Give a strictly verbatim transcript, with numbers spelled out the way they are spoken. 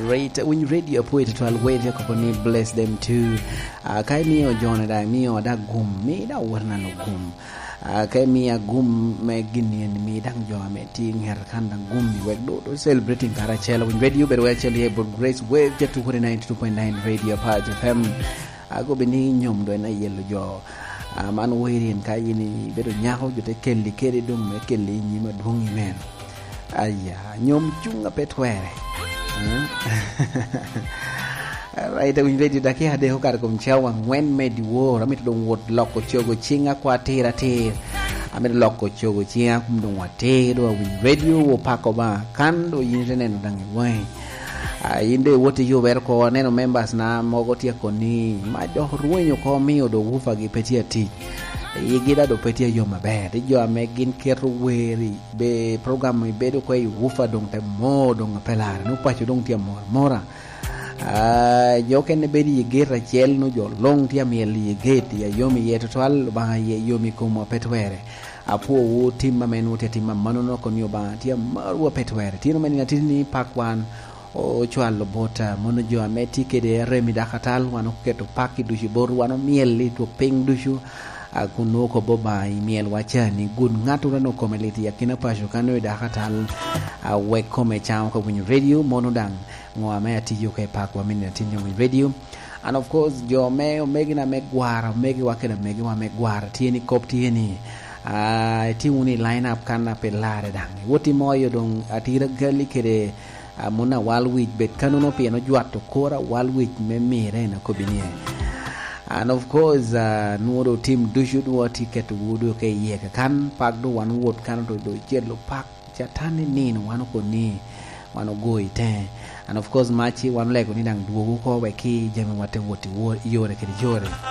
Great, winy radio apwoyo tutwal, wede akobo ni bless them too. Ah, ka imiyo jone daŋ, imiyo daŋ gum, mi daŋ wot nano gum. Ah, ka imiya gum me gin ni en, mi daŋ jo ame tye i ŋet kan daŋ gum, wek do, do celebrating karacel. Winy radio bedo wek acel ye Broad Grace Wave, ja two forty-nine to two point nine Radio Apac F M. Agobe ni nyom do en ayelo jo. Ah, man weri en ka yin ibedo nyako, jo te kelli kede doŋ me kelli i nyim adwoŋ i men. Aya, nyom cuŋ a pe twere. Eh? Alright, awinyo radio dakika adek okato kom cawa angwen me dyewor. Amito doŋ wot loko cogo ciŋa kwa atir atir. Amito loko cogo ciŋa kun doŋ watir, doŋ awinyo radio, wopako Obaŋa. Kan doŋ yin ite neno daŋ i waŋi. Ah, yin doŋ iwot iyubere oko, aneno members na mogo tye akoni, ma dok rwenyo oko, omio doŋ woofer gi pe tye atic. Igi daŋ doŋ pe tye ayom aber. Ti jo ame gin keto wer i be program ibedo oko i woofer doŋ te mor doŋ ape larre. Nwoŋo paco doŋ tye amor amora. Ah, jo okene bedo i gate acel, nwoŋo jo luŋ tye amyel i gate, i ayom iye tutwal, Obaŋa iye yom i komwa pe twere. Apwowu tim ame nwoŋo tye atim amannono, kono ni Obaŋa tye amarwu a pe twere. Tino me nino atiti ni pak wan ocwalo bot, ah, mono jo ame tye kede rem i dakatal, wan oketo pak i ducu bot, wan omyel i twok piny ducu, ah, kun nwoŋo kobbi Obaŋa i myelwa ca ni, gud ŋattoro ame kome lit i akina paco kan nwoŋo i dakatal, ah, wek kome cam oko winyo radio, mono daŋ ŋo ame atiyo ka i pakwa me nino atiti ni winyo radio. And of course, jo me omegina me gwara, omegiwa kede amegiwa me gwara, tye ni kop tye ni, ah, itye wunu i line up kan a pe larre daŋ. Iwot imoyo doŋ atira gali kede, ah, mon awal wic, bet kannono pien ojwato kor awal wic me mire en akobbi ni. And of course, ah, nwoŋo doŋ tim ducu nwoŋo atye keto wu doŋ ka iye kakan, pak doŋ wan wot kan doŋ, doŋ icelo pak. Catan ni nino, wan okoni, wan ogo i teŋe. And of course, mac ci wan olego ni daŋ dwogo oko wek ki jami wa te wot i wo-, i yore kede yore.